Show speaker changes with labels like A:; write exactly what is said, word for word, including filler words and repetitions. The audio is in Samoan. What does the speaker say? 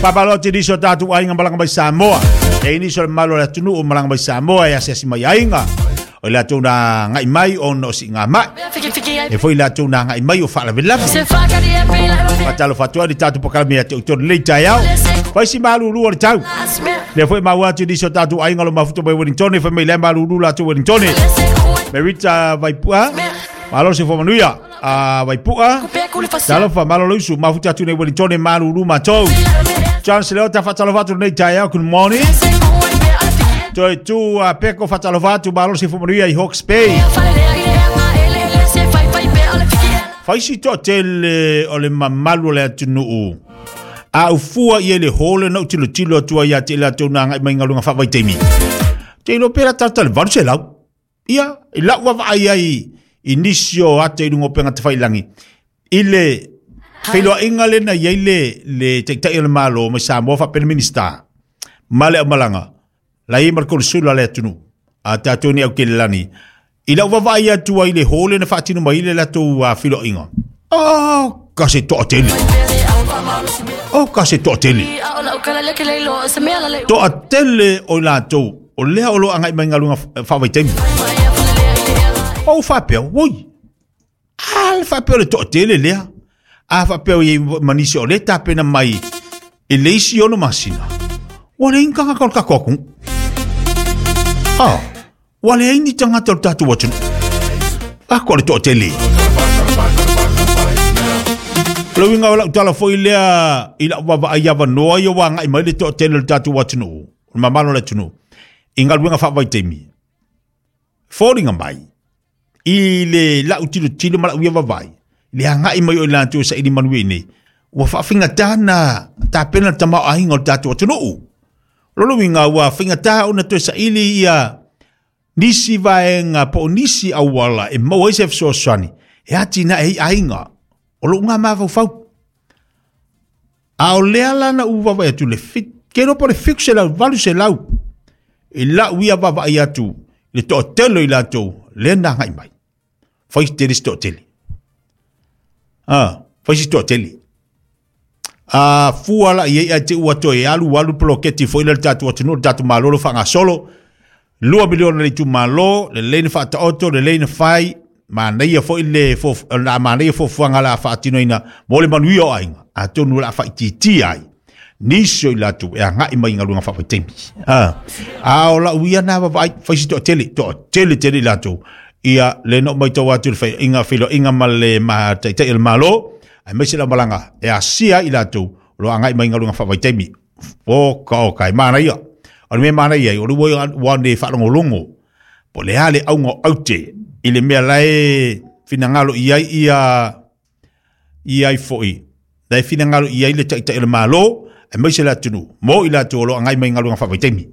A: Faamalo atu i nisi o tatou aiga malaga mai Samoa. E i nisi o le mamalu o le atunuu o malaga mai Samoa e asiasi mai aiga. O i latou na agai mai ona o siigamai. E foi i latou na agai mai o faalavelave. Faatalofa atu ai le tatou polokalame ia te outou i lenei taeao. Fai si malulu o le tau. Lea foi maua atu i nisi o tatou aiga o lo o mafuta mai Wellington, fai mai lea malulu latou Wellington. Merita Vaipua, malo se manuia. A Vaipua, talofa malo le usu, mafuta atu nei Wellington malulu matou. John Leota faatalofa atu lenei taeao, good morning. Toe tu a peko faatalofa atu malo se manuia i Hawke's Bay. Fai si toatele o le mamalu o le atunuu. A ufua i le hole na utilotilo atua ia te latou na agai mai galuega faavaitaimi. Te iloa pe latalata le valu selau. Ia, i lau vaavaai ai i nisi o ata i luga o upega tafailagi. I le feiloaiga lena i ai le, le taitai o le Malo mai Samoa faapea le Minista ma le aumalaga. La i ma le konesula le atunuu. A tatou ni aukelelani. I lau vaavaai atu ai i le hole na faatino mai le latou uh, feiloaiga. Oh, ka se toatele. Oh, ka se toatele. Toatele o i latou. O lea o lo o agai mai galuega faavaitaimi. O faapea, oi. A le faapea o le toatele lea. A faapea o i manisi o le tapena mai i le isi ono masina. Ua leai ni tagata o le tatou atunuu. Ah, ua leai ni tagata o le tatou atunuu. Ako le toatele. O le uiga o lau tala foi lea i lau vaavaai avanoa ia ua agai mai le toatele o le tatou atunuu, o le mamalu o le atunuu, i galuega faavaitaimi. Foliga mai i le lau tilotilo ma lau ia vaavaai, le agai mai o i latou e saili manuia i nei, ua faafaigata na tapena le tamaoaiga o le tatou atunuu. O lona uiga ua faigata ona toe saili ia nisi vaega po o nisi auala e maua ai se fesoasoani e atinae ai aiga o lou ngā mafaufau. A o lea la na ou vaavaai atu le fit, ke iloa po o le fitu selau, valu selau i lau ia vaavaai atu i le toatele o i latou lea na agai mai. Fai si tele si toatele. Ah, fai si toatele. A fua la i ai ae te ua toe alu alu poloketi foi lea le tatou atunuu, le tatou Malo lo faagasolo. Lua miliona le itumalo, lelei na faataoto, lelei na fai, manaia foi le fof, la manaia fofuaga la faatinoina mo le manuia o aiga. Atonu o le a faaitiitia ai nisi o i latou e agai mai i galuega faavaitaimi. Ah, a o lau ia na vaavaai, fai si toatele, toatele tele i latou. Ia, le na ou matau atu i le faiaiga, feiloaiga ma le ma taitai o le Malo, aemaise le aumalaga e asia ai i latou o lo o agai mai i galuega faavaitaimi. O ka o ka e manaia. O le mea manaia ai, o le ua ua ne faalogologo po o le a le auga o aute i le mea la e finagalo i ai ia i ai foi. La e finagalo i ai le taitai o le Malo, aemaise le atunuu, mo i latou o lo o agai mai i galuega faavaitaimi.